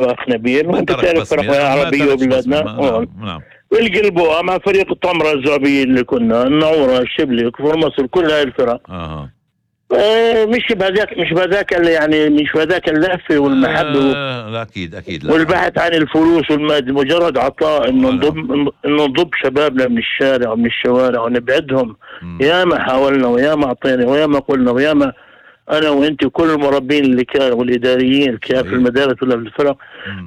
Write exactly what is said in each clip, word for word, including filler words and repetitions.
أخ نبيل، وأنت تعرف فرق عربية وبلادنا نعم والقلبوها مع فريق الطمرة الزعبية اللي كنا النعورة الشبلي كفر مصر كل هاي الفرق. آه. آه مش بهذاك مش بهذاك يعني مش بهذاك اللهفة والمحبة آه لا أكيد أكيد لا. والبحث عن الفلوس والمادة، مجرد عطاء إنه نضب إنه نضب شبابنا من الشارع ومن الشوارع ونبعدهم. يا ما حاولنا ويا ما أعطينا ويا ما قلنا ويا ما أنا وأنت وكل المربين اللي كانوا والإداريين اللي كانوا في المدارس ولا في الفرق،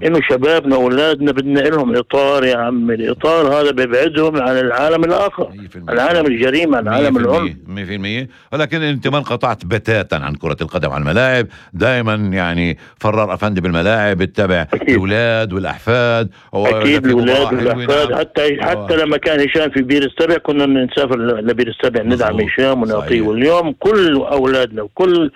إنه شبابنا وأولادنا بدنا لهم إطار يا عم. الإطار هذا بيبعدهم عن العالم الآخر، العالم الجريمة، العالم العنف. مية في المية. ولكن أنت ما انقطعت بتاتا عن كرة القدم على الملاعب، دائما يعني فرار أفندي بالملاعب بتتابع الأولاد والأحفاد. أكيد الأولاد والأحفاد، حتى حتى لما كان هشام في بير السبع كنا نسافر لبير السبع ندعم هشام ونعطيه. واليوم كل أولادنا وكل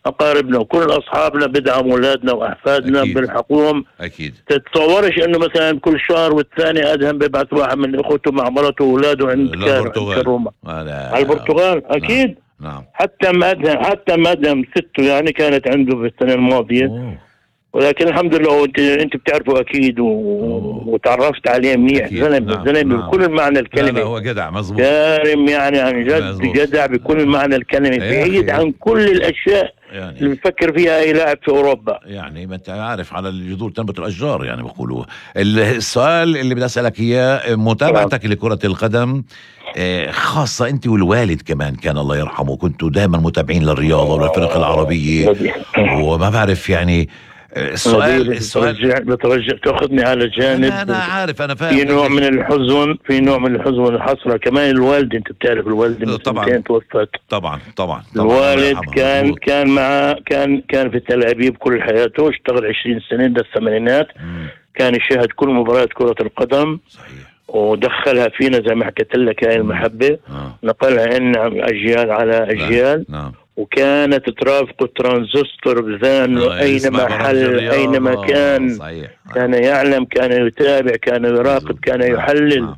أقاربنا وكل أصحابنا بدعم أولادنا وأحفادنا بالحكوم. أكيد تتصورش إنه مثلا كل شهر والثاني أدهم بيبعث واحد من إخوته مع مرته وأولاده عند روما على البرتغال. أكيد نعم. نعم. حتى ما أدهم حتى ما أدهم سته يعني كانت عنده في السنة الماضية. أوه. ولكن الحمد لله انت انت بتعرفه اكيد و... وتعرفت عليه منيح. زلمه زلمه نعم. بكل معنى الكلمه. لا لا هو جدع مظبوط كارم يعني عن جد مزبوط. جدع بكل معنى الكلمه، بعيد عن كل الاشياء يعني اللي بفكر فيها اي لاعب في اوروبا. يعني ما انت عارف على الجذور تنبت الاشجار يعني بيقولوا. السؤال اللي بدي اسالك اياه، متابعتك نعم. لكره القدم خاصة أنت والوالد كمان كان الله يرحمه، كنتوا دائما متابعين للرياضة والفرق العربية، وما بعرف يعني السؤال السؤال بترجع تاخذني على جانب. أنا, أنا عارف أنا فاهم. في نوع من الحزن في نوع من الحزن والحسرة كمان. الوالد أنت بتعرف الوالد طبعا توفت. طبعا طبعا الوالد كان مزبوط. كان مع كان كان في تل أبيب كل حياته، اشتغل عشرين سنة ده الثمانينات. كان يشاهد كل مباريات كرة القدم. صحيح. ودخلها فينا زي ما حكيت لك هاي المحبة. آه. نقلها لنا أجيال على أجيال. نعم. وكانت ترافق الترانزستور بذانه آه أينما حل أينما كان. صحيح. كان يعلم، كان يتابع، كان يراقب، كان يحلل. نعم.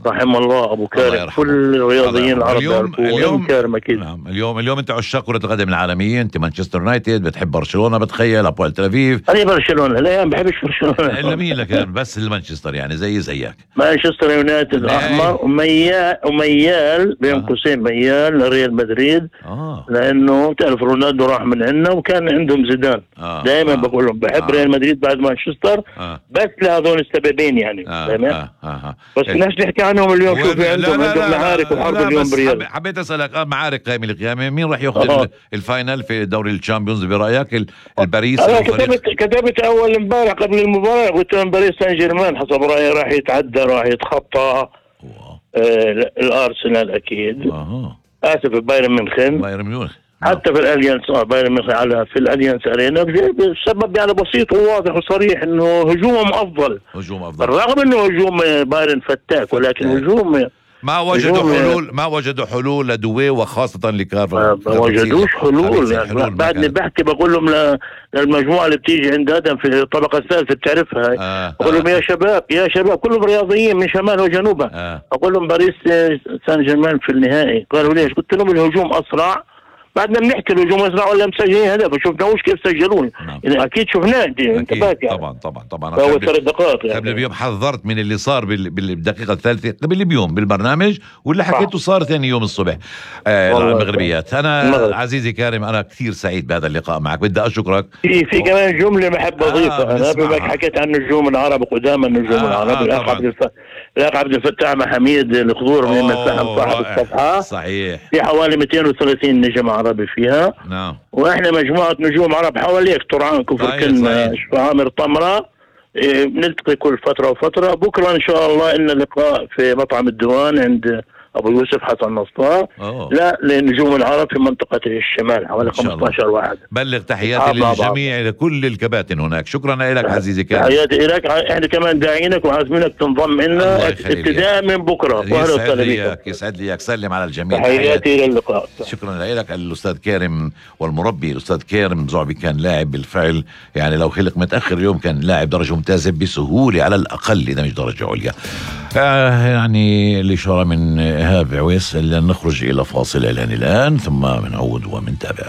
رحم الله ابو كارم كل الرياضيين العرب. اليوم اليوم كارم اكيد. نعم. اليوم اليوم انت عشاق كرة القدم العالمية، انت مانشستر يونايتد، بتحب برشلونة، بتخيل ابوال تل ابيب. انا برشلونة لا ما بحبش برشلونة الا مين لك بس المانشستر يعني زي زيك. مانشستر يونايتد احمر وميال وميال بين قوسين ميال لريال مدريد. آه. لانه تعرف رونالدو راح من عندنا وكان عندهم زيدان. آه. دائما آه. بقول لهم بحب آه. ريال مدريد بعد مانشستر. آه. بس لهذول السببين يعني. آه. آه. آه. بس الناس تحكي عنهم اليوم شو في عندهم عندهم معارك وحرب اليوم بريال. حبيت اسالك اه معارك قائمه القيامه، مين راح ياخذ أه. الفاينل في دوري الشامبيونز برايك؟ الباريس؟ انا كتبت كتبت اول امبارح قبل المباراه قلت لهم باريس سان جيرمان حسب رايي راح يتعدى، راح يتخطى آه الارسنال اكيد. أه. اسف بايرن ميونخ بايرن ميونخ حتى في الاليانس اه بايرن ميونخ على في الاليانس ارينا بسبب يعني بسيط وواضح وصريح انه هجومهم افضل. هجوم افضل رغم انه هجوم بايرن فتاك، ولكن هجوم ما وجدوا حلول ما وجدوا حلول لدوي وخاصة لكارفا. ما وجدوش حلول يعني. بعدني بحكي بقول لهم للمجموعة اللي بتيجي عند ادم في الطبقة الثالثة بتعرفها. آه بقول لهم آه. يا شباب يا شباب كلهم رياضيين من شمال وجنوبها. آه. اقول لهم باريس سان جيرمان في النهائي. قالوا ليش؟ قلت لهم الهجوم اسرع. بعدنا بنحكي الهجوم اسرع ولا مسجلين هدف، شفناهوش كيف سجلون. نعم. يعني اكيد شفناه انت انتبهت يعني. طبعا طبعا طبعا فهو ثلاث دقائق يعني. قبل بيوم حذرت من اللي صار بالدقيقه الثالثه قبل بيوم بالبرنامج، واللي حكيته صار ثاني يوم الصبح آه المغربيات. انا المغرب. عزيزي كارم انا كثير سعيد بهذا اللقاء معك، بدي اشكرك. في في كمان جمله بحب اضيفها. آه انا بما حكيت عن النجوم العرب قدام النجوم آه العرب. الاخ عبد الفتاح الاخ عبد الفتاح محميد الخضور من مساهم صاحب الصفحه. صحيح. في حوالي مئتين وثلاثين نجم عربي فيها. نعم. واحنا مجموعه نجوم عرب حواليك طرعان كفر كلمه عامر طمره. إيه بنلتقي كل فتره وفتره. بكره ان شاء الله لنا لقاء في مطعم الديوان عند ابو يوسف حسن نصار. لا لنجوم العرب في منطقه الشمال حوالي خمسة عشر واحد. بلغ تحياتي للجميع لكل الكباتن هناك. شكرا لك عزيزي كارم. تحياتي لك. احنا كمان داعينك وعازمينك تنضم لنا ابتداء من بكره. يسعد لي يسعد لي سلم على الجميع. تحياتي الى اللقاء. شكرا لك الاستاذ كارم والمربي الاستاذ كارم زعبي. كان لاعب بالفعل يعني، لو خلق متاخر اليوم كان لاعب درجه ممتازه بسهوله على الاقل اذا مش درجه عليا. آه يعني الاشاره من إيهاب عويس. نخرج إلى فاصل إعلاني الآن ثم بنعود ومنتابع.